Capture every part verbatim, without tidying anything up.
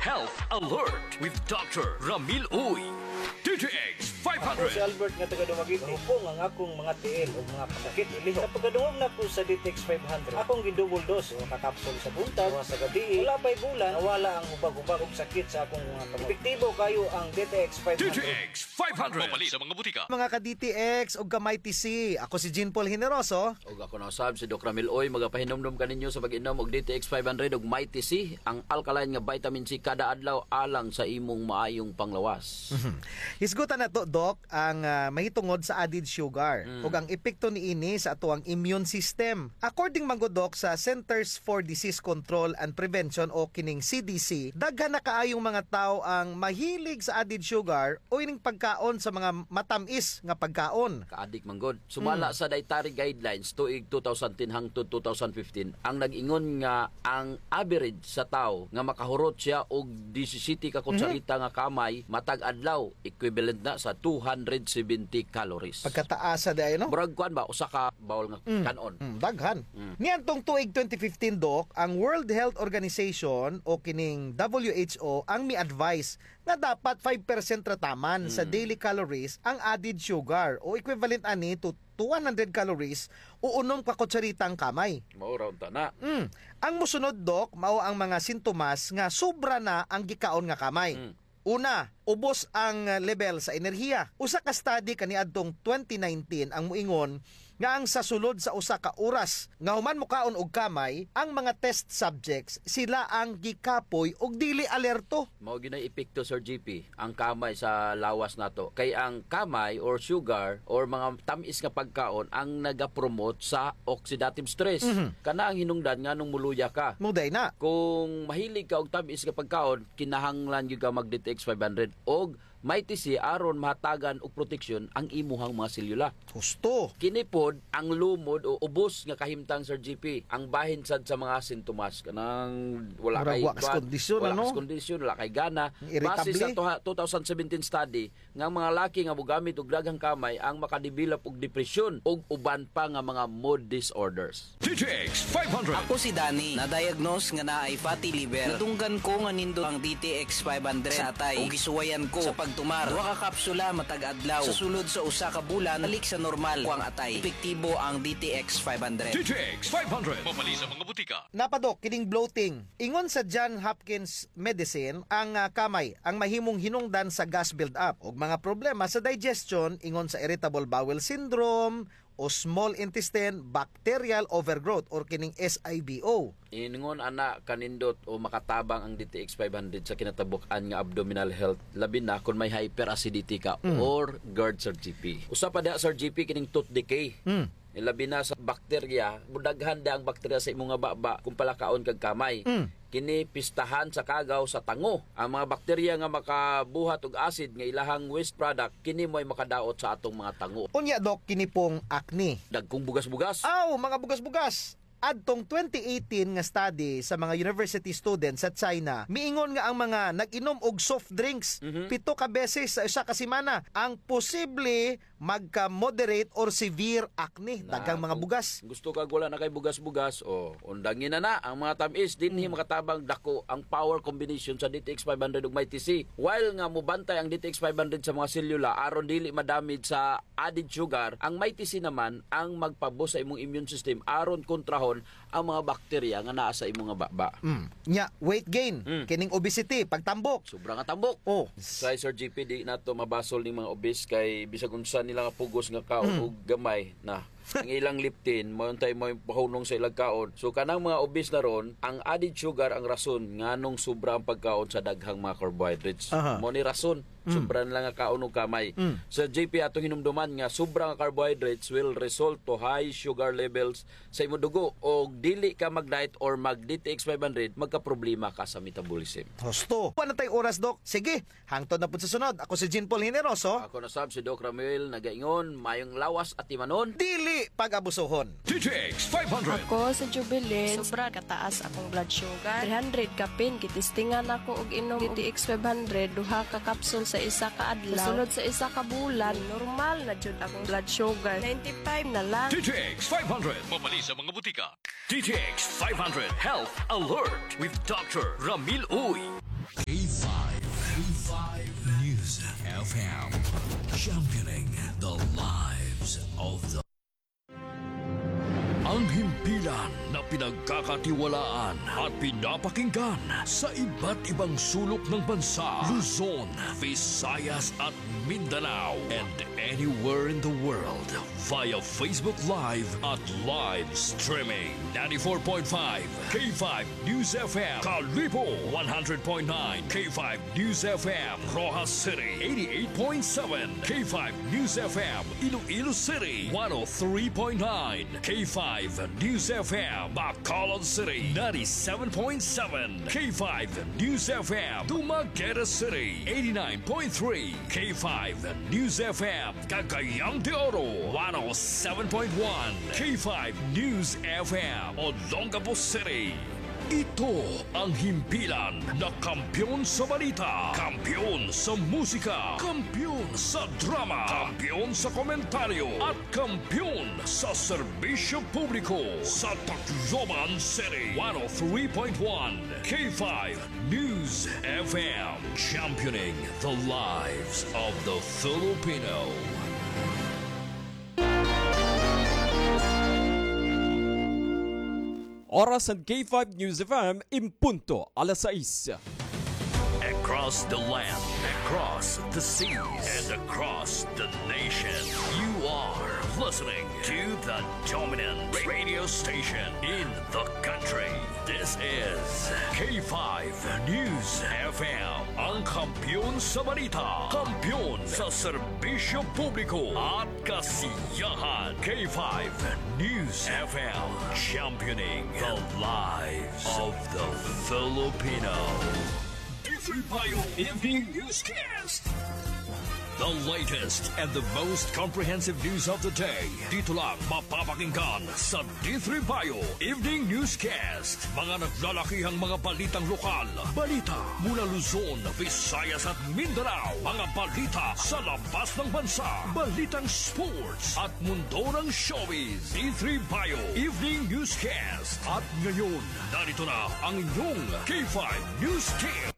Health Alert with Doctor Ramil Uy. D T X five hundred. Ako si Albert nga taga Dumaguete. Hupong ang akong mga tiil o mga pasakit ilihok. Sa pagkadungog nako sa D T X five hundred, akong gi-double dose, usa ka kapsul sa buntag, usa sa gabii. Wala pa'y bulan, nawala ang hubag-hubag ug sakit sa akong mga kamot. Epektibo kaayo ang D T X five hundred. D T X five hundred. Mapalit sa mga butika. Mga ka-D T X ug ka-Mighty C, ako si Jean Paul Generoso. Ug ako na usab si Doc Ramil Uy, magapahinumdom kaninyo sa pag-inom og D T X five hundred ug Mighty C, ang alkaline nga vitamin C kada adlaw alang sa imong maayong panglawas. Mhm. Hisgutan nato, Doc, ang, ah, mahitungod sa added sugar Mm. ug ang epekto niini sa atoang immune system. According man gud, Doc, sa Centers for Disease Control and Prevention o kining C D C, daghan na kaayong mga tawo ang mahilig sa added sugar o ining pagkaon sa mga matam-is nga pagkaon. Kaadik man gud. Sumala Mm. sa dietary guidelines tuig two thousand ten hangtod two thousand fifteen, ang nag-ingon nga ang average sa tawo nga makahurot siya og disisiyete ka Mhm. kutsarita nga kamay matag adlaw, equivalent na sa two hundred seventy calories. Pagkataasa diay, no? Murag kuan ba, usa ka bowl nga Mm. kan-on. Mm, daghan. Mm. Niadtong tuig twenty fifteen, Doc, ang World Health Organization o kining W H O ang mi-advise nga dapat five percent ra taman sa Mm. daily calories ang added sugar o equivalent ani to two hundred calories o unom ka kutsarita ang kamay. Mao ra unta na. Mm. Ang mosunod, Doc, mao ang mga sintomas nga sobra na ang gikaon nga kamay. Mm. Una, ubos ang level sa enerhiya. Usa ka study kaniadtong twenty nineteen ang moingon nga ang sa sulod sa usa ka oras nga human mokaon og kamay, ang mga test subjects, sila ang gikapoy ug dili alerto. Mao gyud nay epekto, Sir G P, ang kamay sa lawas nato. Kay ang kamay or sugar or mga tam-is nga pagkaon ang nagapromote sa oxidative stress. Mhm. Kana ang hinungdan nganong muluya ka. Mao diay na. Kung mahilig ka og tam-is nga pagkaon, kinahanglan gyud ka mag D T X five hundred og Mighty C aron mahatagan og proteksyon ang imuhang mga selyula. Husto. Kini pod ang lumod o ubos nga kahimtang, Sir G P. Ang bahin sad sa mga sintomas, kanang wala Murag kay wa kas kuan, kondisyon, wala ano? kas kondisyon, wala kay gana. Irritable. Base sa tuha-, two thousand seventeen study, nga ang mga laki nga mogamit og daghang kamay ang makadevelop og depresyon ug uban pa nga mga mood disorders. D T X five hundred. Ako si Danny, na-diagnose nga naay fatty liver. Nadunggan ko nga nindot ang D T X five hundred sa atay. Ug gisuwayan ko sa pagtumar. Duha ka kapsula matag adlaw. Sa sulod sa usa ka bulan, balik sa normal ko ang atay. Epektibo ang D T X five hundred. D T X five hundred. Mapalit sa mga butika. Napa, Doc, kining bloating. Ingon sa John Hopkins Medicine, ang, ah, kamay ang mahimong hinungdan sa gas build-up ug mga problema sa digestion, ingon sa irritable bowel syndrome o small intestine bacterial overgrowth or kining S I B O. Ingon ana kanindot o makatabang ang D T X five hundred sa kinatabuk-an nga abdominal health, labi na kon may hyperacidity ka Mm. or GERD, Sir G P. Usa pa diha, Sir G P, kining tooth decay. Mm. Labi na sa bakterya, mudaghan da ang bakterya sa imo nga baba kung palakaon kag kamay. Mm. Kini pistahan sa kagaw sa tango. Ang mga bakterya nga makabuhat og acid nga ilahang waste product, kini mo'y makadaot sa atong mga tango. Unya, Doc, kini pong acne. Dagkong bugas-bugas. Aw, mga bugas-bugas. Adtong twenty eighteen nga study sa mga university students sa China, miingon nga ang mga nag-inom og soft drinks Mhm. pito ka beses sa usa ka semana ang posible magka-moderate or severe acne. Na, Daghang mga kung bugas. gusto kag wala na kay bugas-bugas, o, undangi na na ang mga tam-is, dinhi Mm. makatabang dako ang power combination sa D T X five hundred ug Mighty C. While nga mobantay ang D T X five hundred sa mga selula aron dili ma-damage sa added sugar, ang Mighty C naman ang magpa-boost sa imong immune system aron kontrahon ang mga bakterya nga naa sa imong nga baba. Mm. Nya, weight gain, Mm. kining obesity, pagtambok. Sobra nga tambok. Oh. Kay Sir G P, di nato mabasol ning mga obese kay bisag unsa nila nga pugos nga kaon Mm. og gamay na. Ang ilang leptin, mao untay mao'y pahunong sa ilang kaon. So, kanang mga obese na ron, ang added sugar ang rason nganong sobra ang pagkaon sa daghang mga carbohydrates. Aha. Mao ni rason, Mm. sobra nila nga kaon og kamay. Mm. Sir G P, atong hinumduman nga sobra nga carbohydrates will result to high sugar levels sa imo dugo, og dili ka mag-diet or mag D T X five hundred, magkaproblema ka sa metabolism. Husto. Wala na tay oras, Doc. Sige, hangtod na pud sa sunod. Ako si Jean Paul Generoso. Ako na sab si Doc Ramuel, nagaingon, mayong lawas atimanon. Dili pag-abusohon. D T X five hundred. Ako si Jubilin. Sobra kataas akong blood sugar. Three hundred kapin, gitistingan ako og inom D T X five hundred, duha ka kapsul sa isa ka adlaw. Sulod sa isa ka bulan, normal na jud akong blood sugar. Ninety-five na lang. D T X five hundred. Mapalit sa mga butika. D T X five hundred Health Alert with Doctor Ramil Uy. Championing the lives of the Ang himpilan na pinagkakatiwalaan at pinapakinggan sa iba't ibang sulok ng bansa, Luzon, Visayas at Mindanao, and anywhere in the world via Facebook Live at live streaming. Ninety-four point five K five News F M, Kalibo, one hundred point nine K five News F M, Roxas City, eighty-eight point seven K five News F M, Iloilo City, one oh three point nine K five News F M, Bacolod City, ninety-seven point seven K five News F M, Dumaguete City, eighty-nine point three K five News F M, Cagayan de Oro, one oh seven point one K five News F M, Olongapo City. Ito ang himpilan na kampiyon sa balita, kampiyon sa musika, kampiyon sa drama, kampiyon sa komentaryo, at kampiyon sa serbisyo publiko sa Tacloban City, one oh three point one K five News F M, championing the lives of the Filipino. Oras han K five News F M, in punto alas sais. Across the land, across the seas, and across the nation, you are listening to the dominant radio station in the country. This is K five News F M, ang kampiyon sa balita, kampiyon sa serbisyo publiko at kasiyahan. K five News F M, championing the lives of the Filipino. Evening Newscast. The latest and the most comprehensive news of the day. Dito lang mapapakinggan sa D three Bio Evening Newscast. Mga naglalakihang mga balitang lokal. Balita mula Luzon, Visayas at Mindanao. Mga balita sa labas ng bansa. Balitang sports at mundo ng showbiz. D three Bio Evening Newscast. At ngayon, narito na ang inyong K five News Team.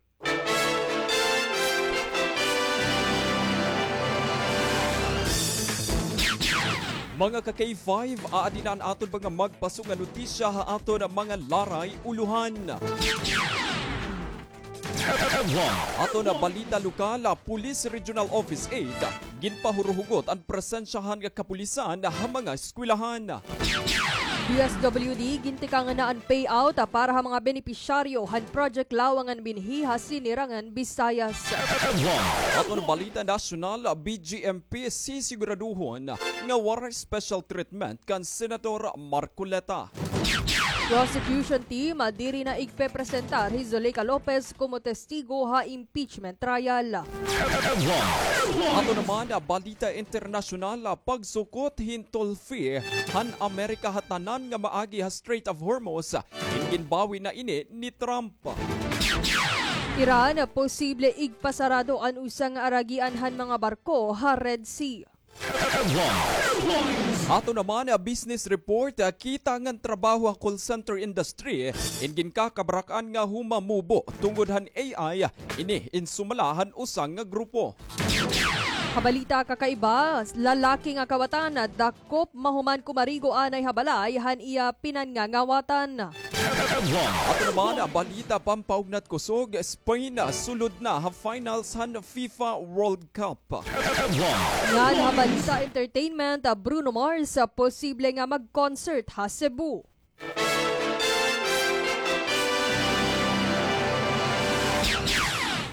Mga ka-K five, aadi na an aton mga magpaso nga notisya ha aton mga laray ulohan. Aton balita lokal, Police Regional Office eight, ginpahuruhugot an presensyahan nga kapulisan ha mga eskwelahan. D S W D, gintikangan na an payout para ha mga benepisyaryo han Project Lawangan Binhi ha Sinirangan Visayas. Aton balita nasyonal, B J M P sisiguraduhon nga waray special treatment kan Senator Marcoleta. Prosecution team, diri na igpepresentar hi Zuleika Lopez komo testigo ha impeachment trial. Aton naman balita internasyonal, pagsukot hin toll fee han Amerika ha tanan nga maagi ha Strait of Hormuz, ginbawi na ini ni Trump. Iran, posible igpasarado an usa nga aragian han mga barko ha Red Sea. Aton naman business report, kita ngan trabaho ha call center industry in ginkakabarak-an nga humamubo tungod han A I, ini in sumala han usa nga grupo. Ha balita kakaiba, lalaki nga kawatan dakop mahuman kumarigo anay ha balay han iya pinangangawatan. Aton naman balita pampaugnat kusog, Spain sulod na ha finals han FIFA World Cup. Ngan ha balita entertainment, Bruno Mars posible nga mag-concert ha Cebu.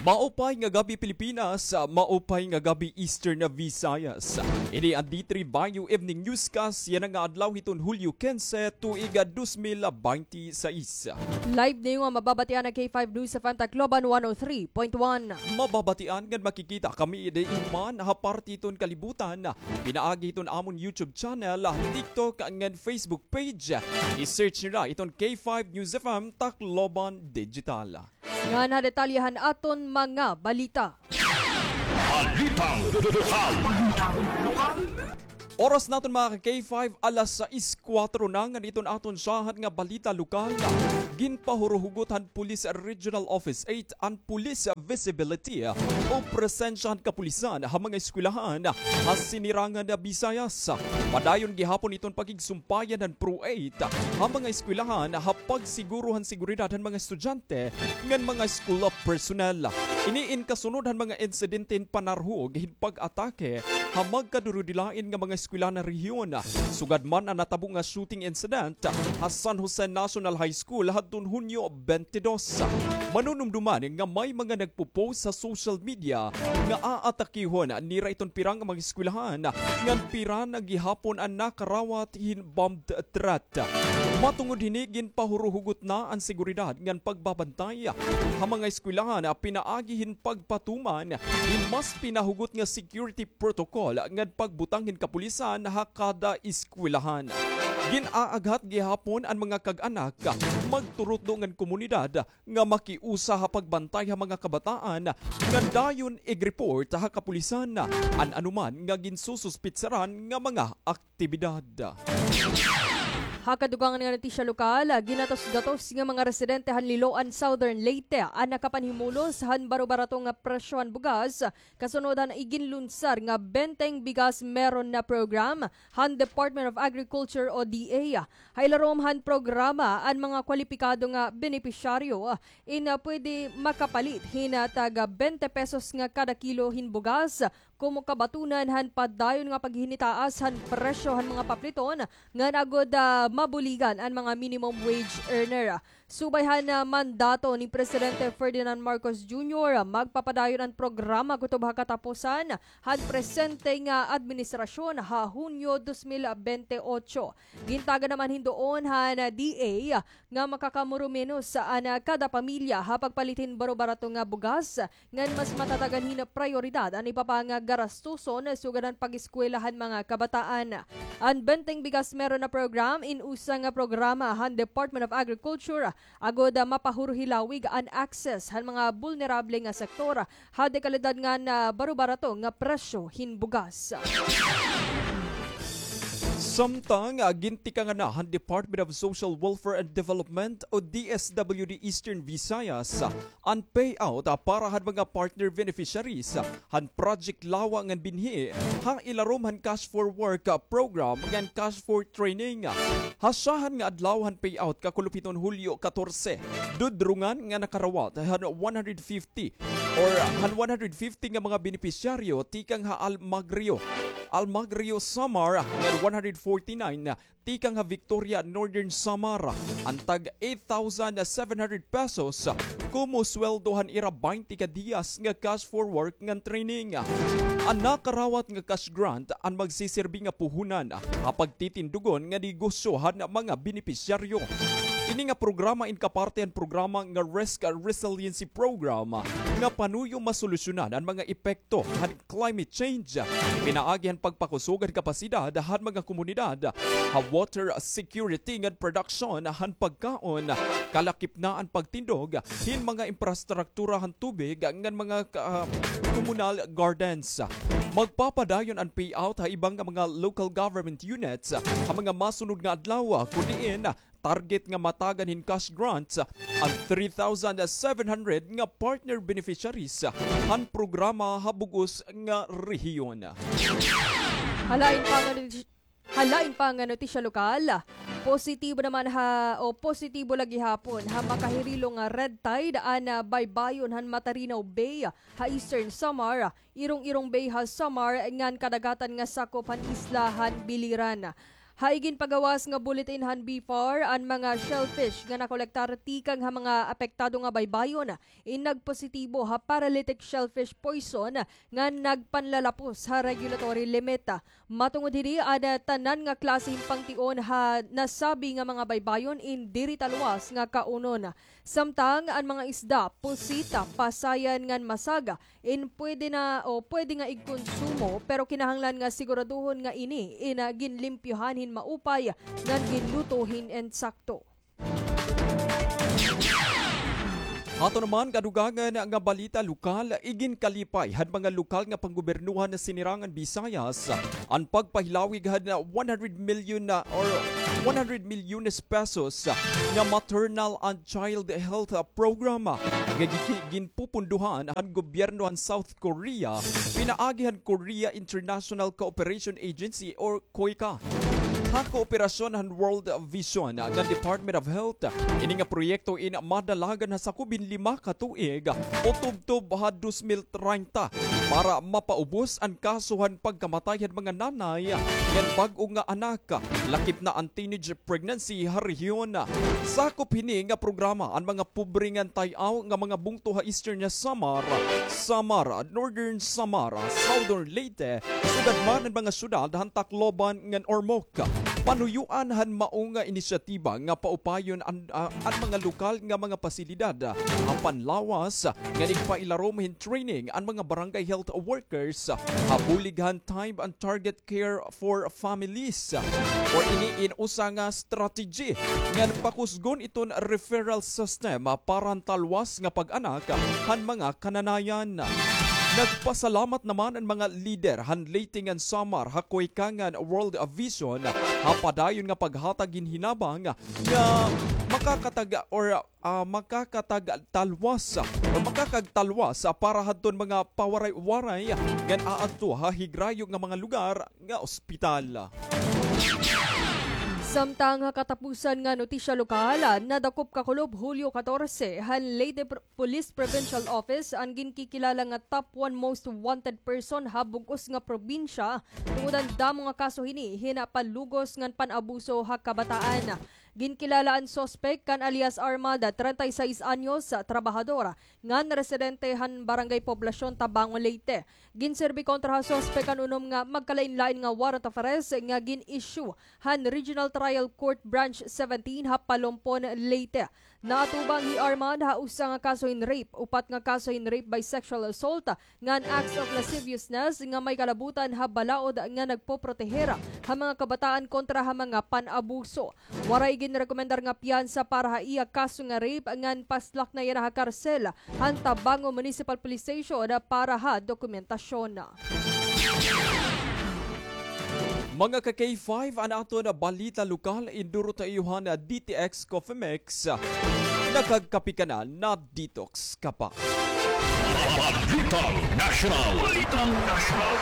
Maupay nga gab-i, Pilipinas. Maupay nga gab-i, Eastern Visayas. Ini an D three Bio Evening Newscast yana nga adlaw hiton Hulyo kinse, tuig dos mil baynte sais. Live niyo nga mababatian an K five News F M Tacloban one oh three point one. Mababatian ngan makikita kami diin man ha parte hiton kalibutan pinaagi hiton amon YouTube channel, TikTok ngan Facebook page. I-search niyo la iton K five News F M Tacloban Digital. Ngan ha detalye han aton mga balita. Balitang lokal. Oras naton, mga ka-K five, alas sais kuwatro na. Ngan iton aton syahan nga balita lokal. Ginpahuruhugot han Police Regional Office eight an police visibility o presensya han kapulisan ha mga eskwelahan ha Sinirangan Visayas. Padayon gihapon iton pakigsumpayan han Pro eight ha mga eskwelahan ha pagsiguro han seguridad han mga estudyante ngan mga school personnel. Ini in kasunod han mga insidente hin panarhog hin pag-atake ha magkadurudilain nga mga eskwelahan ha rehiyon, sugad man an natabo nga shooting incident ha San Jose National High School hadton Hunyo twenty-two. Manunumduman nga may mga nagpo-post sa social media nga aatakihon nira iton pira nga mga eskwelahan, ngan pira na gihapon an nakarawat hin bombed threat. Matungod hini, ginpahuruhugot na an seguridad ngan pagbabantay ha mga eskwelahan pinaagi hin pagpatuman hin mas pinahugot nga security protocol ngan pagbutang hin kapulisan ha kada eskwelahan. Gin-aaghat gihapon an mga kag-anak, magturutdo ngan komunidad nga makiusa ha pagbantay ha mga kabataan ngan dayon ig-report ha kapulisan an anuman nga ginsususpitsaran nga mga aktibidad. Ha kadugangan nga notisya lokal, ginatos-gatos nga mga residente han Liloan, Southern Leyte, an nakapanhimulos han baro-barato nga presyo han bugas, kasunod han iginlunsar nga Benteng Bigas Meron Na program han Department of Agriculture o D A. Ha ilarom han programa, an mga kwalipikado nga benepisyaryo in, ah, pwede makapalit hin, ah, taga bente pesos nga kada kilo hin bugas, komo kabatunan han padayon nga paghinitaas han presyo han mga papliton ngan agod, ah, mabuligan an mga minimum wage earner. Subay han, ah, mandato ni Presidente Ferdinand Marcos Junior, magpapadayon an programa kutob ha katapusan han presente nga administrasyon ha Hunyo dos mil bente otso. Gintagan naman hin duon han D A nga makakamurumenos an kada pamilya ha pagpalit hin baro-barato nga bugas, ngan mas matatagan hin prayoridad an iba pa nga garastuson sugad han pag-eskwela han mga kabataan. An Benteng Bigas Meron Na program in usa nga programa han Department of Agriculture agod, ah, mapahurhilawig an access han mga bulnerable nga sektor ha dekalidad ngan, ah, baro-barato nga presyo hin bugas. Samtang, ah, gintikangan na han Department of Social Welfare and Development o D S W D Eastern Visayas, ah, an payout, ah, para han mga partner beneficiaries, ah, han Project Lawa ngan Binhi ha ilarom han Cash for Work, ah, program ngan Cash for Training. Ha syahan nga adlaw han payout kakulop hiton Hulyo katorse, dudrongan nga nakarawat han one hundred fifty or han one hundred fifty nga mga benepisyaryo tikang ha Almagro, Almagro, Samar, ngan one hundred forty-nine tikang ha Victoria, Northern Samar, an tag eight thousand seven hundred pesos komo sweldo han ira baynte ka diyas nga Cash for Work ngan training. An nakarawat nga cash grant an magsisirbi nga puhunan ha pagtitindugon nga negosyo han mga benepisyaryo. Ini nga programa in kaparte han programa nga Risk Resiliency Program nga panuyo masolusyonan an mga epekto han climate change, pinaagi han pagpakusog han kapasidad han mga komunidad ha water security ngan production han pagkaon, kalakip na an pagtindog hin mga infrastruktura han tubig ngan mga ka-, komunal gardens. Magpapadayon an payout ha iba nga mga local government units ha mga masunod nga adlaw, kun diin target nga matagan hin cash grants an three thousand seven hundred nga partner beneficiaries han programa ha bug-os nga rehiyon. Halain pa nga noti-, halain pa nga notisya lokal, positibo naman ha, o positibo la gihapon ha makahirilong nga red tide an, ah, baybayon han Matarinaw Bay ha Eastern Samar, Irong-Irong Bay ha Samar ngan kadagatan nga sakop han isla han Biliran. Ha iginpagawas nga bulletin han BFAR, an mga shellfish nga nakolektar tikang ha mga apektado nga baybayon in nagpositibo ha paralytic shellfish poison nga nagpanlalapos ha regulatory limit. Matungod hini, an tanan nga klase hin pangtion ha nasabi nga mga baybayon in diri ta luwas nga kaunon. Samtang an mga isda, pusit, pasayan ngan masag, in pwede na o pwede nga igkonsumo, pero kinahanglan nga siguraduhon nga ini in, ah, ginlimpyohan hin maupay ngan ginluto hin insakto. Ato naman kadugangan nga balita lokal, iginkalipay han mga lokal nga panggobernohan han Sinirangan Visayas an pagpahilawig han one hundred million na or one hundred milyones pesos nga Maternal and Child Health Program nga gi-, ginpupundohan han gobyerno han South Korea pinaagi han Korea International Cooperation Agency or KOICA. Ha kooperasyon han World Vision ngan Department of Health, ini nga proyekto in madalagan ha sakob hin lima ka tuig o tubtob ha dos mil treinta para mapaubos an kaso han pagkamatay han mga nanay ngan bag-o nga anak, lakip na an teenage pregnancy ha rehiyon. Sakop hini nga programa an mga pobre ngan tay-aw nga mga bungto ha Eastern Samar, Samar, Northern Samar, Southern Leyte, sugad man an mga syudad han Tacloban ngan Ormoc. Panuyuan han mao nga inisyatiba nga paupayon an, ah, an mga lokal nga mga pasilidad ha panlawas ngan igpailarom hin training an mga barangay health workers ha bulig han Time and Target Care for Families, or ini in usa nga strategy ngan pakusgon iton referral system para han talwas nga pag-anak han mga kananayan. Nagpasalamat naman an mga lider han Leyte ngan Samar ha KOICA ngan World Vision ha padayon nga paghatag hin hinabang nga makakatag or, ah, makakatag talwas o makakagtalwas para hadton mga pawaray-waray ngan aadto ha higrayo nga mga lugar nga ospital. Samtang ha katapusan nga notisya lokal, nadakop kakulob Hulyo katorse han Leyte Pr-, Police Provincial Office an ginkikilala nga top one most wanted person ha bug-os nga probinsya tungod han damo nga kaso hini hin panlugos ngan pan-abuso ha kabataan. Ginkilala an suspek kan alias Armand, treinta y seis anyos, trabahador, ngan residente han Barangay Poblacion, Tabangon, Leyte. Ginserbi kontra ha suspek an unom nga magkalainlain nga warrant of arrest nga gin-issue han Regional Trial Court Branch seventeen ha Palompon, Leyte. Naatubang hi Armand ha usa nga kaso hin rape, upat nga kaso hin rape by sexual assault, ngan acts of lasciviousness nga may kalabutan ha balaod nga nagpoproteher ha mga kabataan kontra ha mga pan-abuso. Waray ginrekomendar nga piyansa para ha iya kaso nga rape ngan paslak na yana ha karsel han Tabangon Municipal Police Station para ha dokumentasyon. Mga ka K five, an aton balita lokal, induro ta iyo han D T X Coffee Mix. Nakagkape ka na, na-detox ka pa. Balitang Nasyonal. Balitang Nasyonal.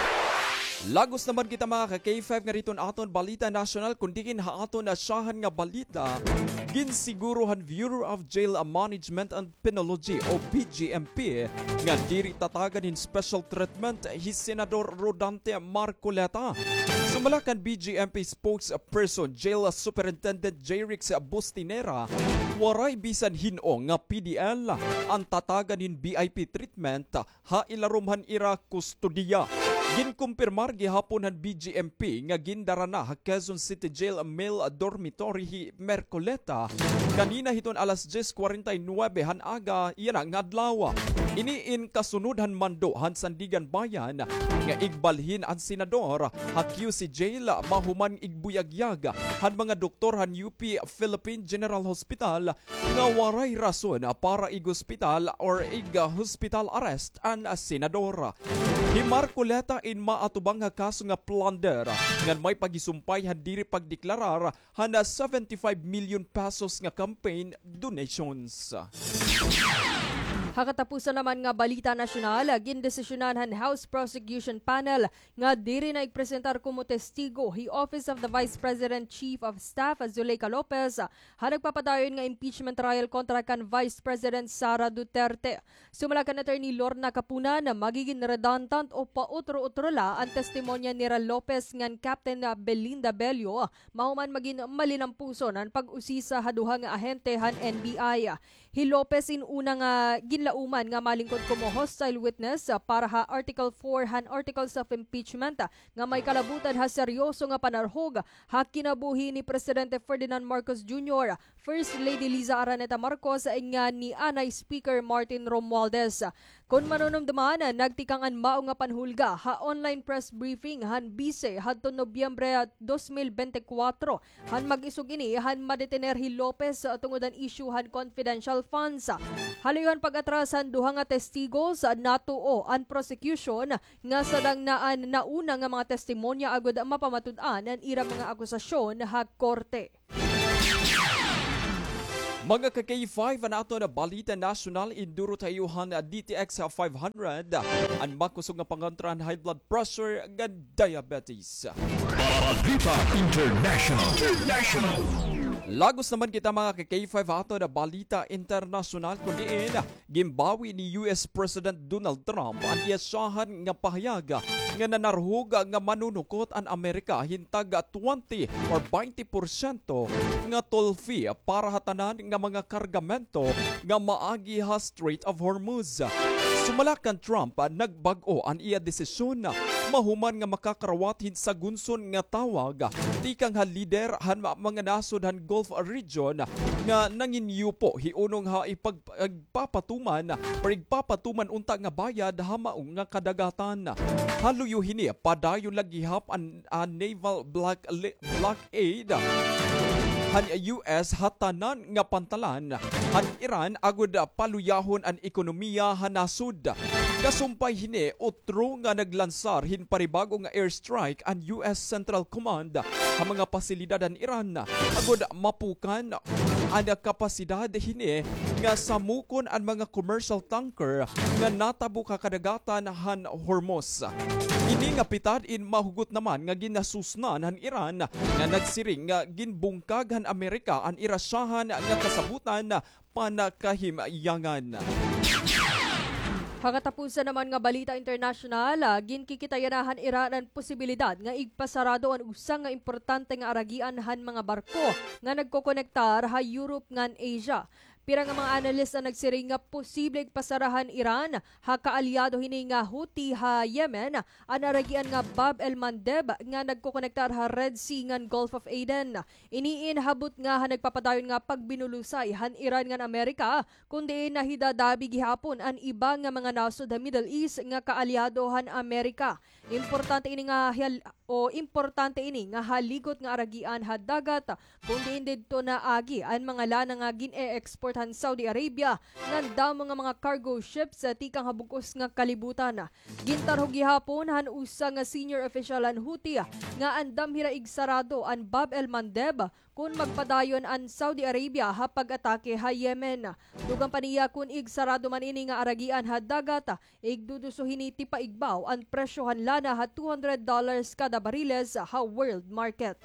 Lagos naman kita, mga ka K five, nga didto an aton balita nasyonal, kun diin ha aton nasyahan nga balita, ginsiguro han Bureau of Jail Management and Penology o B J M P nga diri tatagan hin special treatment hi Senador Rodante Marcoleta. Sumala kan B J M P spokesperson Jail Superintendent Jrix Bustinera, waray bisan hin-o nga P D L an tatagan hin V I P treatment ha ilarom han ira kustodiya. Ginkumpirmar gihapon han B J M P nga gindara na ha Quezon City Jail male dormitory hi Marcoleta kanina hiton alas diyes kwarenta y nuwebe han aga yana nga adlaw. Ini in kasunod han mando han Sandiganbayan nga igbalhin an senador ha Q C Jail mahuman igbuyagyag han mga doktor han U P Philippine General Hospital nga waray rason para ig-hospital or ig-hospital arrest an senador. Hi Marcoleta in maatubang ha kaso nga plunder ngan may pagisumpay han diri pagdeklarar han seventy-five million pesos nga campaign donations. Ha katapusan naman nga balita nasyonal, gindesisyonan han House Prosecution Panel nga diri na igpresentar komo testigo hi Office of the Vice President Chief of Staff Zuleika Lopez ha nagpapadayon nga impeachment trial kontra kan Vice President Sara Duterte. Sumala kan Attorney Lorna Kapunan, magigin redundant o pautro-utro la an testimonya nira Lopez ngan Captain Belinda Bello, mahuman magin malinampuson an pag-usisa ha duha nga ahente han N B I. Hi Lopez in una nga ginlauman nga malingkod komo hostile witness para ha Article four han Articles of Impeachment nga may kalabutan ha seryoso nga panarhog ha kinabuhi ni Presidente Ferdinand Marcos Junior, First Lady Liza Araneta Marcos ngan ni anay Speaker Martin Romualdez. Kon manunumduman, nagtikang an mao nga panhulga ha online press briefing han bise hadton Nobyembre dos mil bente kwatro, han mag-isog ini han madetener hi Lopez tungod han isyu han confidential funds. Haloy han pag-atras han duha nga testigos, natuo an prosecution nga sadang na an nauna nga mga testimonya agod mapamatud-an an ira mga akusasyon ha korte. Mga ka-K five, an aton balita nasyonal, induro ta iyo han D T X five hundred, an makusog nga pangontra han high blood pressure ngan diabetes. Balita International. International. Lagos naman kita, mga ka-K five, aton balita internasyonal, kun diin ginbawi ni U S President Donald Trump an iya syahan nga pahayag nga nanarhog nga manunukot an Amerika hin tag twenty or baynte porsyento nga toll fee para ha tanan nga mga kargamento nga maagi ha Strait of Hormuz. Sumala kan Trump, nagbag-o an iya desisyon mahuman nga makakarawat hin sagunson nga tawag tikang ha lider han ma-, mga nasod han Gulf region nga nanginyupo hiunong ha ipag-, igpapatuman or igpapatuman unta nga bayad ha mao nga kadagatan. Ha luyo hini, padayon la gihap an, an naval block-, li-, blockade han U S ha tanan nga pantalan han Iran agod paluyahon an ekonomiya han nasod. Kasumpay hini, otro nga naglansar hin panibago nga airstrike an U S Central Command ha mga pasilidad han Iran agod mapukan an kapasidad hini nga samukon an mga commercial tanker nga natabok ha kadagatan han Hormuz. Ini nga pitad in mahugot naman nga ginasusnan han Iran nga nagsiring nga ginbungkag han Amerika an ira syahan nga kasabotan panakahimyangan. Ha katapusan naman nga balita internasyonal, ah, ginkikita yana han Iran an posibilidad nga igpasarado an usa nga importante nga aragian han mga barko nga nagkokonektar ha Europe ngan Asia. Pira nga mga analyst an nagsiring nga posible igpasara han Iran ha kaalyado hini nga Houthi ha Yemen an aragian nga Bab el Mandeb nga nagkokonektar ha Red Sea ngan Gulf of Aden. Ini in habot nga ha nagpapadayon nga pagbinulusay han Iran ngan Amerika, kun diin nahidadabi gihapon an iba nga mga nasod ha Middle East nga kaalyado han Amerika. Importante ini nga hal-, o importante ini nga haligot nga aragian ha dagat, kun diin didto naagi an mga lana nga gin-e-export han Saudi Arabia ngan damo nga mga cargo ships, ah, tikang ha bug-os nga kalibutan. Gintarhog gihapon han usa nga senior official han Houthi nga andam hira igsarado an Bab el Mandeb kon magpadayon an Saudi Arabia ha pag-atake ha Yemen. Dugang pa niya, kon igsarado man ini nga aragian ha dagat, igduduso hini tipaigbaw an presyo han lana ha two hundred dollars kada bariles ha world market.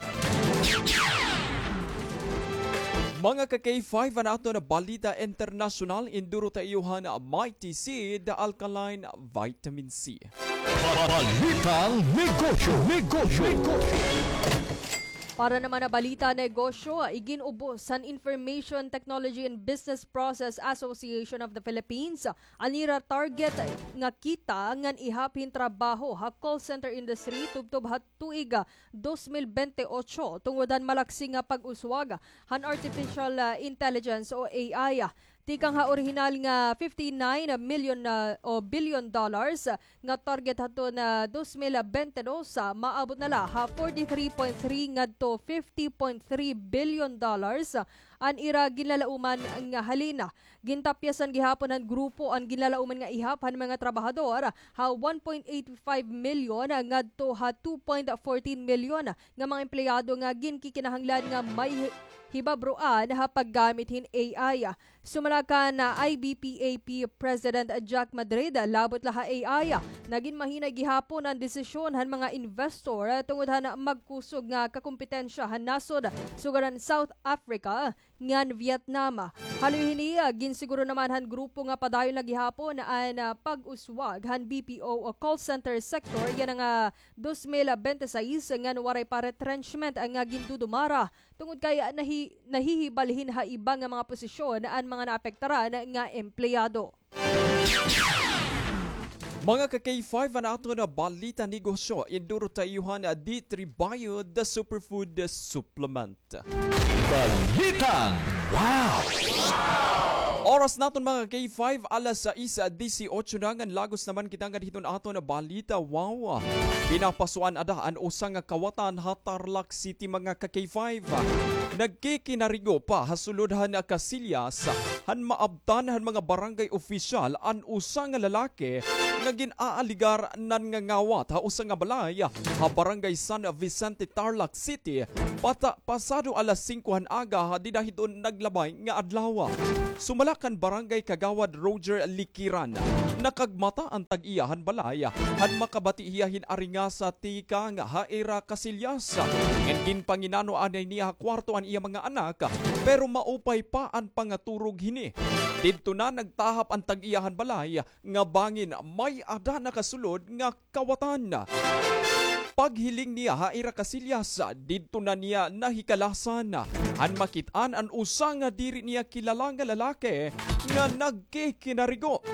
Mga ka-K five, an aton balita internasyonal, induro ta iyo han Mighty Seed Alkaline Vitamin C. Balitang negosyo, negosyo, negosyo. Para naman ha balita negosyo, igin-ubos han Information Technology and Business Process Association of the Philippines an ira target nga kita ngan ihap hin trabaho ha call center industry tubtob ha tuig, ah, dos mil bente otso tungod han malaksi nga pag-uswag han artificial, ah, intelligence o A I. Tikang ha orihinal nga fifty-nine million, ah, o billion dollars, ah, nga target hadton, ah, dos mil bente dos, ah, maabot na la ha forty-three point three ngadto fifty point three billion dollars, ah, an ira ginlalauman nga halin. Gintapyasan gihapon han grupo an ginlalauman nga ihap han mga trabahador ha one point eight five million ngadto ha two point fourteen million nga mga empleyado nga ginkikinahanglan nga may hi-, hibabroan ha paggamit hin A I. Sumala kan I B P A P President Jack Madrid, labot la ha A I, nagin mahinay gihapon an desisyon han mga investor tungod han magkusog nga kakompetensya han nasod sugad han South Africa ngan Vietnam. Haloy hini, ah, ginsiguro naman han grupo nga padayon la gihapon an, ah, pag-uswag han B P O o call center sector yana nga dos mil bente sais ngan waray pa retrenchment nga gindudumara tungod kay, ah, nahi-, nahihibalhin ha iba nga mga posisyon an mga naapektaran nga empleyado. Mga ka-K five, an aton balita negosyo, induro ta iyo han D three Bio, the superfood supplement. Balitang wow! Oras naton, mga K five, alas sais disiotso na, ngan lagos naman kita ngadto hiton aton balita. Wow! Pinapasuan ada an usa nga kawatan ha Tarlac City, mga ka K five. Nagkikinarigo pa ha sulod han Casillas, han maabtan han mga barangay opisyal an usa nga lalaki nga gin-aaligar nangangawat ha usa nga balay ha Barangay San Vicente, Tarlac City, pata-, pasado alas singko han aga ha dida hiton naglabay nga adlaw. Sumala kan Barangay Kagawad Roger Likiran, nakagmata an tag-iya han balay han makabati hiya hin aringasa tikang ha ira Casillas. Ngan ginpanginano anay niya ha kwarto an iya mga anak, pero maupay pa an pangaturog hini. Didto na nagtahap an tag-iya han balay nga bangin may-ada nakasulod nga kawatan. Paghiling niya ha ira Casillas, didto na niya nahikalasan han makit-an an usa nga diri niya kilala nga lalaki nga nagkikinarigo.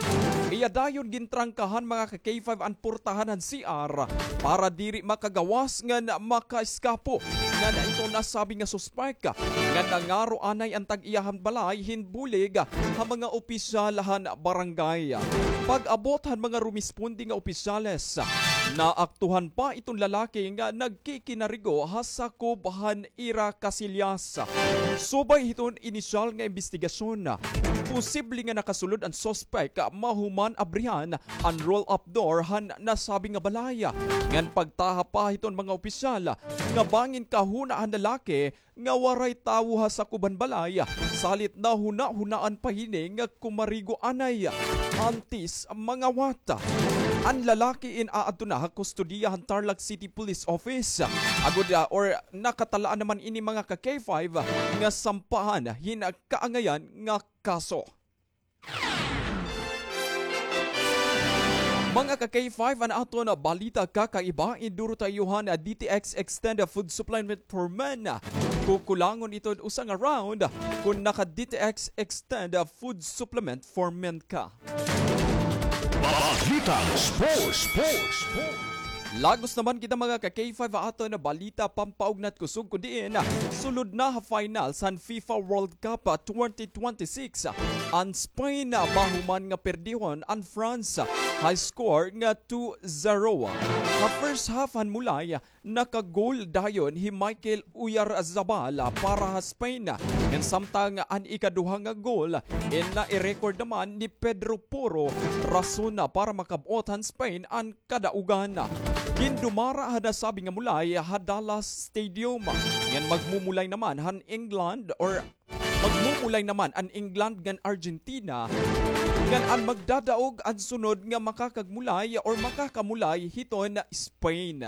Iya dayon gintrangkahan, mga ka K five, an portahan han C R para diri makagawas ngan makaeskapo. Ngan ito nasabi nga suspek nga nangaro anay an tag-iya han balay hin bulig ha mga opisyal han barangay. Pag-abot han mga rumisponde nga opisyales, naaktuhan pa iton lalaki nga nagkikinarigo ha sakob han ira Casillas. Subay hiton inisyal nga imbestigasyon, posible nga nakasulod an suspek mahuman abrihan an roll-up door han nasabi nga balay. Ngan pagtahap pa hiton mga opisyal nga bangin kahuna han lalaki nga waray tawo ha sakob han balay, salit nahunahunaan pa hini nga kumarigo anay antes mangawat. An lalaki in-aadto na ha kustodiya han Tarlac City Police Office. Agod, ah, or nakatalaan naman ini, mga ka K five, nga sampahan hin kaangayan nga kaso. Mga ka K five, an aton balita kakaiba, induro ta iyo han D T X Extended Food Supplement for Men. Kukulangon ito usa nga round kon naka D T X Extended Food Supplement for Men ka. Balitang Sports, Sports, Sports. Lagos naman kita, mga ka K five, ha aton balita pampaugnat kusog, kun diin sulod na ha finals han FIFA World Cup twenty twenty-six an Spain, mahuman nga perdihon an France ha score nga two zero. Ha first half han mulay, naka-goal dayon hi Michael Oyarzabal para ha Spain. Ngan samtang an ikaduha nga goal, in nai-record naman ni Pedro Porro Rason para makab-ot han Spain an kadaugan. Gindumara han nasabi nga mulay ha Dallas Stadium. Ngan magmumulay naman han England or magmumulay naman an England ngan Argentina. Ngan an magdadaog an sunod nga makakagmulay or makakamulay hiton Spain.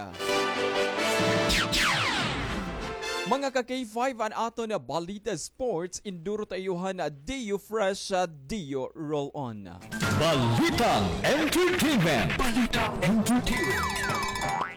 Mga ka K five, an aton balita sports, induro ta iyo han Dio Fresh, Dio Roll On. Balitang entertainment. Balitang entertainment.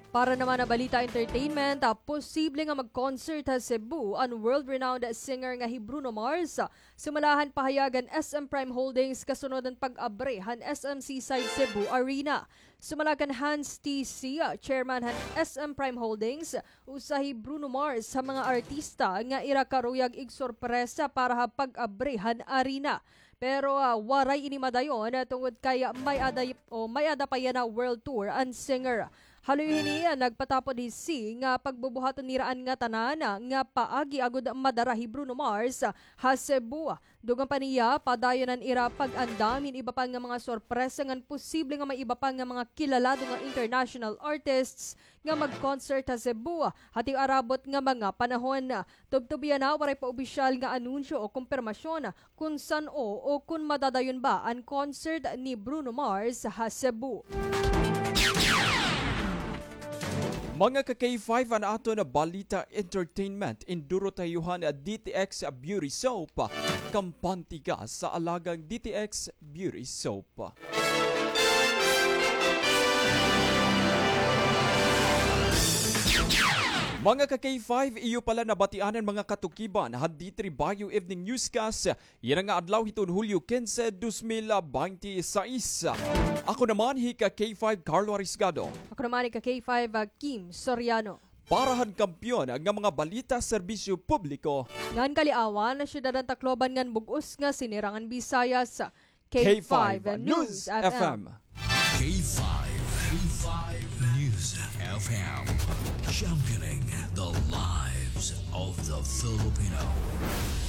Para naman ha balita entertainment, ah, posible nga mag-concert ha Cebu an world-renowned singer nga hi Bruno Mars. Sumala han pahayag han S M Prime Holdings kasunod han pag-abri han S M Seaside Cebu Arena. Sumala kan Hans T C, chairman han S M Prime Holdings, usa hi Bruno Mars ha mga artista nga ira karuyag igsorpresa para ha pag-abri han arena. Pero, ah, waray ini madayon, ah, tungod kay may-ada, o may-ada pa yana world tour an singer. Haloy hini, ah, nagpatapod hi C nga pagbubuhaton nira an ngatanan, ah, nga paagi agod madara hi Bruno Mars, ah, ha Cebu. Dugang pa niya, padayon an ira pag-andam hin iba pa nga mga sorpresa ngan posible nga may iba pa nga mga kilalado nga international artists nga mag-concert ha Cebu ha tiarabot nga mga panahon. Tubtob yana, waray pa opisyal nga anunsyo o kumpirmasyon kun san-o o kun madadayon ba an concert ni Bruno Mars ha Cebu. Mga ka K five, an aton balita entertainment, induro ta iyo han D T X Beauty Soap, kampante ka sa alagang D T X Beauty Soap. Mga ka K five, iyo pala nabatian an mga katukiban han D three Bayo Evening Newscast yana nga adlaw hiton Hulyo kinse, dos mil bente seis. Ako naman hi ka K five Carlo Arisgado. Ako naman hi ka K five, ah, Kim Soriano. Para han kampiyon nga mga balita, serbisyo publiko. Ngan kaliawan, syudad han Tacloban ngan bug-os nga sinirangan Bisayas, K five News F M. K five, K five News F M, championing the lives of the Filipino.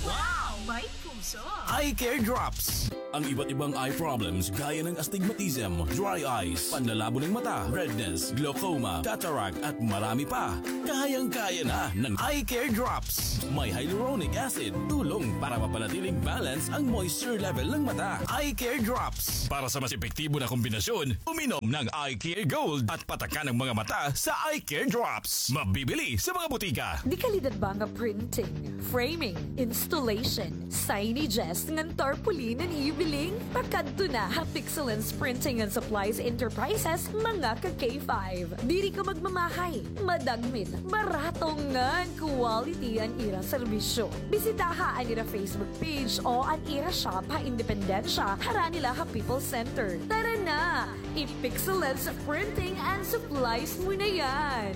Wow! May puso! Eye Care Drops. Ang iba't ibang eye problems gaya ng astigmatism, dry eyes, panlalabo ng mata, redness, glaucoma, cataract, at marami pa. Kayang-kaya na ng Eye Care Drops. May hyaluronic acid, tulong para mapanatiling balance ang moisture level ng mata. Eye Care Drops. Para sa mas epektibo na kombinasyon, uminom ng Eye Care Gold at patakan ang mga mata sa Eye Care Drops. Mabibili sa mga butika. Dekalidad ba nga printing, framing, installation, signages ngan tarpaulin an iyo biling? Pakadto na ha Pixelens Printing and Supplies Enterprises, mga ka K five. Diri ka magmamahay, madagmit, barato ngan quality an ira serbisyo. Bisitaha an ira Facebook page o an ira shop ha Independencia, harani la ha People's Center. Tara na! I-Pixelens Printing and Supplies mo na yan!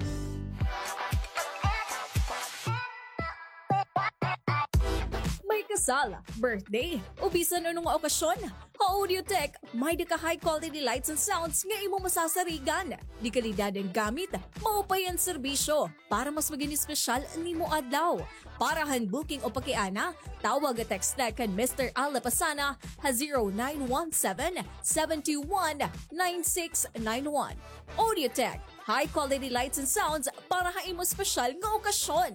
May kasal, birthday, o bisan ano nga okasyon, ha Audiotech, may-ada ka high quality lights and sounds nga imo masasarigan. Dekalidad an gamit, maupay an serbisyo para mas magin espesyal an imo adlaw. Para han booking o pakiana, tawag o text la kan Mister Al Lapasana ha zero nine one seven, seven two one, nine six nine one. Audiotech, high quality lights and sounds para ha imo espesyal nga okasyon.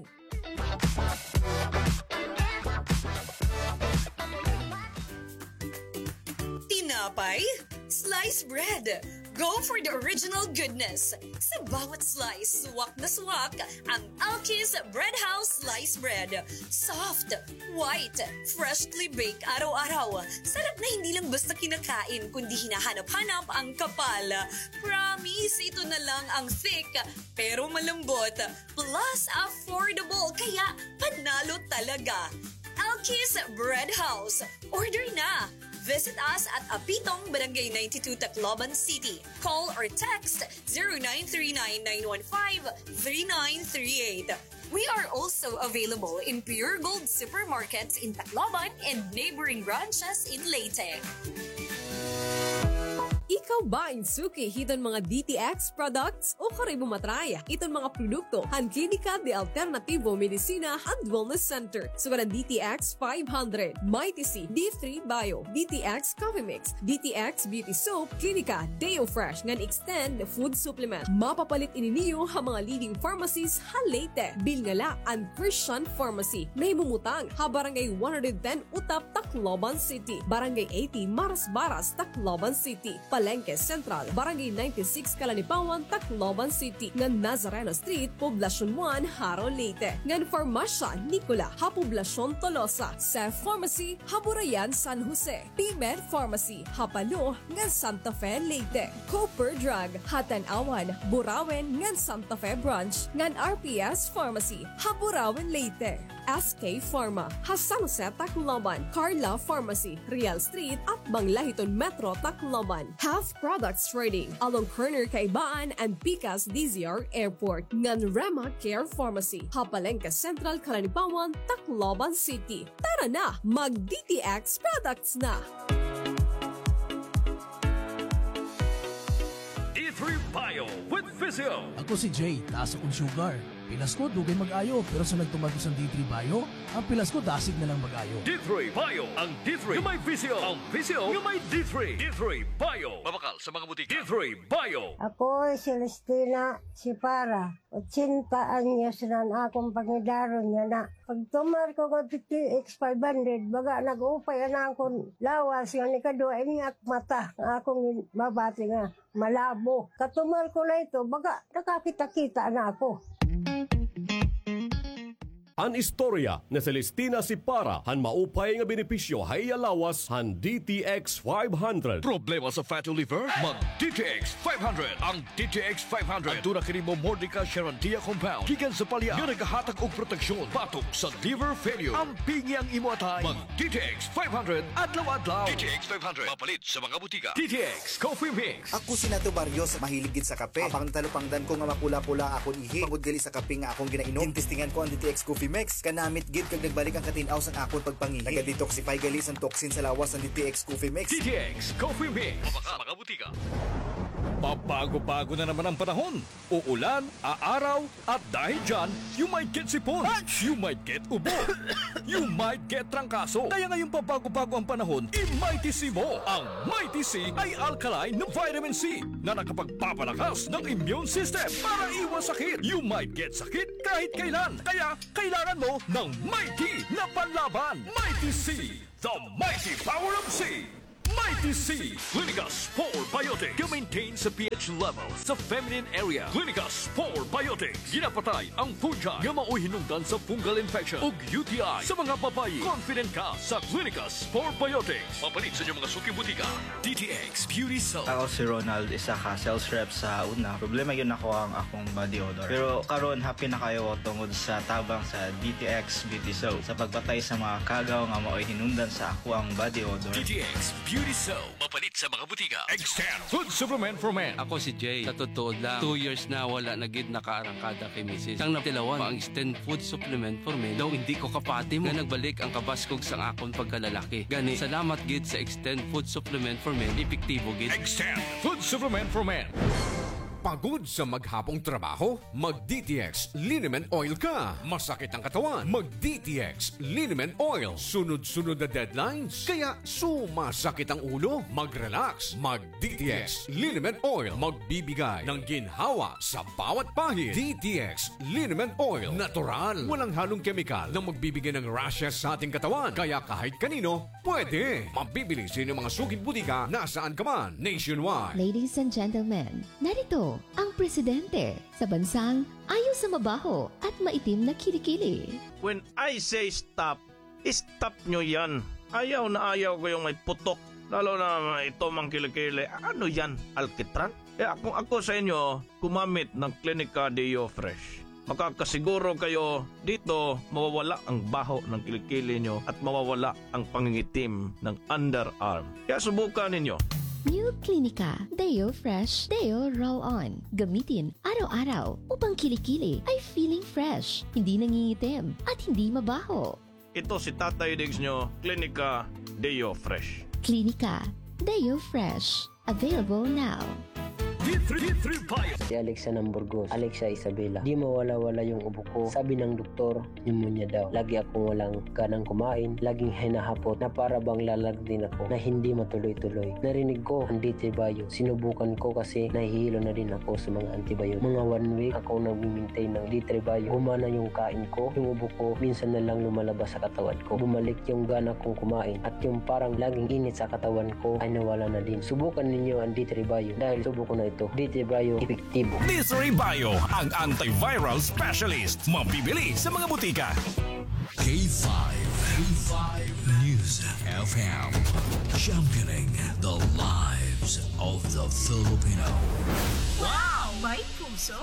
Tinapay? Slice bread. Go for the original goodness. Sa bawat slice, swak na swak ang Alki's Bread House Slice Bread. Soft, white, freshly baked araw-araw. Sarap na hindi lang basta kinakain, kundi hinahanap-hanap ang kapal. Promise, ito na lang ang thick, pero malambot. Plus, affordable, kaya panalo talaga. Alki's Bread House. Order na! Visit us at Apitong, Barangay ninety-two, Tacloban City. Call or text zero nine three nine, nine one five, three nine three eight. We are also available in Pure Gold supermarkets in Tacloban and neighboring branches in Leyte. Ikaw ba in suki hiton mga D T X products? Ukon imo ma-try iton mga produkto han Klinika de Alternativo Medicina and Wellness Center. Sugad an D T X five hundred, Mighty C, D three Bio, D T X Coffee Mix, D T X Beauty Soap, Klinika Deo Fresh ngan Extend Food Supplement. Mapapalit ini niyo ha mga leading pharmacies ha Leyte. Bilnga la an Christian Pharmacy. Nahimumutang ha Barangay one hundred ten Utap, Tacloban City, Barangay eighty Marasbaras, Tacloban City, Palengke Central, Barangay ninety-six Calanipawan, Tacloban City, ngan Nazareno Street, Poblacion one, Jaro, Leyte, ngan Farmasya Nicola ha Poblacion Tolosa, Sef Pharmacy ha Burayan, San Jose, P-Med Pharmacy ha Palo ngan Santa Fe, Leyte, Cooper Drug ha Tanauan, Burauen ngan Santa Fe Branch, ngan R P S Pharmacy ha Burauen, Leyte. S K Pharma ha San Jose, Tacloban, Carla Pharmacy, Real Street, atbang la hiton Metro Tacloban, Health Products Trading along corner Kaibaan and Pikas D Z R Airport, ngan Rema Care Pharmacy ha Palengke Central, Calanipawan, Tacloban City. Tara na, mag D T X products na! D three Bio with Visio. Ako si Jay, taas akong sugar. Pilas ko, dugay mag-ayo, pero sa nagtumar ko sa D three Bio, ang pilas ko dasig na lang mag-ayo. D three Bio, ang D three nga may Visio, ang Visio nga may D three. D three Bio. Mabakal sa mga butika. D three Bio. Ako, Celestina Sipara, ochenta anyos na an akon pangidaron nga na. Pagtumar ko nga D T X five hundred, baga nag-upay an akon lawas, nga nikaduha ini ak mata, nga akon mabati nga malabo. Katumar ko na ito, baga nakakita-kita na ako. An istorya ni Celestina Sipara han maupay nga benepisyo ha iya lawas han D T X five hundred. Problema sa fatty liver? Mag D T X five hundred. Ang D T X five hundred aduna kini Momordica charantia compound gikan sa palya nga nagahatag og proteksyon batok sa liver failure. Ampingi ang imo atay. Mag D T X five hundred adlaw-adlaw. D T X five hundred mapalit sa mga butika. D T X Coffee Mix. Ako si Nato Barrios, mahilig gid sa kape. Apang natalupangdan ko nga mapula-pula akon ihi tungod gali sa kape nga akon ginainom. Gintestingan ko an D T X Coffee Mix. Kanamit gid kag nagbalik an katin-aw sang akon pagpangihi. Naga-detoxify gali sang toxin sa lawas an D T X Coffee Mix. D T X Coffee Mix. Mabaka sa mga butika. Pabago-bago na naman ang panahon. Uulan, aaraw, at dahil dyan, you might get sipon, you might get ubo, you might get trangkaso. Kaya ngayong pabago-bago ang panahon, i-Mighty C mo. Ang Mighty C ay alkaline na vitamin C na nakapagpapalakas ng immune system para iwas sakit. You might get sakit kahit kailan. Kaya kailangan mo ng Mighty na panlaban. Mighty C, the mighty power of C. Mighty C, Clinica Spore Biotic. Ga-maintain sa pH level sa feminine area. Clinica Spore Biotic. Ginapatay ang fungi nga maoy hinungdan sa fungal infection ug U T I sa mga babayi. Confident ka sa Clinica Spore Biotic. Mapalit sa inyong mga suking butika. D T X Beauty Soap. Ako si Ronald, isa ka sales rep sa una. Problema gyud nako ang akong body odor. Pero karon, happy na kaayo tungod sa tabang sa D T X Beauty Soap sa pagpatay sa mga kagaw nga maoy hinungdan sa akoang body odor. D T X Beauty Soap. Mapalit sa mga butika. Extend Food Supplement for Men. Ako si Jay. Sa totoo lang, two years na wala na gid nakaarangkada kay misis. Sang natilawan pa ang Extend Food Supplement for Men, daw hindi ko kapati mo nga nagbalik ang kabaskog sang akon pagkalalaki. Gani, salamat gid sa Extend Food Supplement for Men, epektibo gid. Extend Food Supplement for Men. Pagod sa maghapong trabaho? Mag D T X Liniment Oil ka. Masakit ang katawan? Mag D T X Liniment Oil. Sunod-sunod na deadlines? Kaya sumasakit ang ulo? Mag-relax. Mag D T X Liniment Oil. Magbibigay ng ginhawa sa bawat pahid. D T X Liniment Oil. Natural. Walang halong kemikal na magbibigay ng rashes sa ating katawan. Kaya kahit kanino, pwede. Mabibili sa inyong mga suking butika nasaan ka man, nationwide. Ladies and gentlemen, narito ang presidente sa bansang ayaw sa mabaho at maitim na kilikili. When I say stop, stop nyo yan. Ayaw na ayaw ko yung may putok. Lalo na ito mang kilikili. Ano yan? Alkitran? Kaya kung ako sa inyo, gumamit ng Clinica Deo Fresh. Makakasiguro kayo dito mawawala ang baho ng kilikili nyo at mawawala ang pangingitim ng underarm. Kaya subukan ninyo. New Clinica Deo Fresh Deo Roll-On. Gamitin araw-araw upang kilikili ay feeling fresh, hindi nangingitim, at hindi mabaho. Ito si Tatay Diggs nyo, Clinica Deo Fresh. Clinica Deo Fresh. Available now. D three, D three Bio. Si Alexa ng Burgos, Alexa Isabela. Di mawala-wala yung ubo ko. Sabi ng doktor, pneumonia daw. Lagi akong walang ganang kumain, laging hinahapot na para bang lalagdin ako na hindi matuloy-tuloy. Narinig ko ang D three Bio. Sinubukan ko kasi nahihilo na din ako sa mga antibiotic. Mga one week ako nagmi-maintain ng D three Bio. Gumana yung kain ko, yung ubo ko, minsan na lang lumalabas sa katawan ko. Bumalik yung gana kong kumain at yung parang laging init sa katawan ko ay nawala na din. Subukan ninyo ang D three Bio dahil subo ko na ito. D three Bio, epektibo. D three Bio, ang antiviral specialist. Mabibili sa mga butika. K five, K five News F M. Championing the lives of the Filipino. Wow! May puso!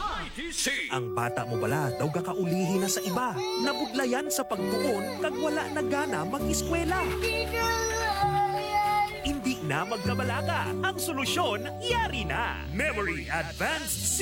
Ang bata mo bala daw gakaulihi na sa iba. Nabudlayan sa pagtuon kag wala na gana mag-eskwela. Indi na magkabalaka. Ang solusyon, yari na. Memory Advanced C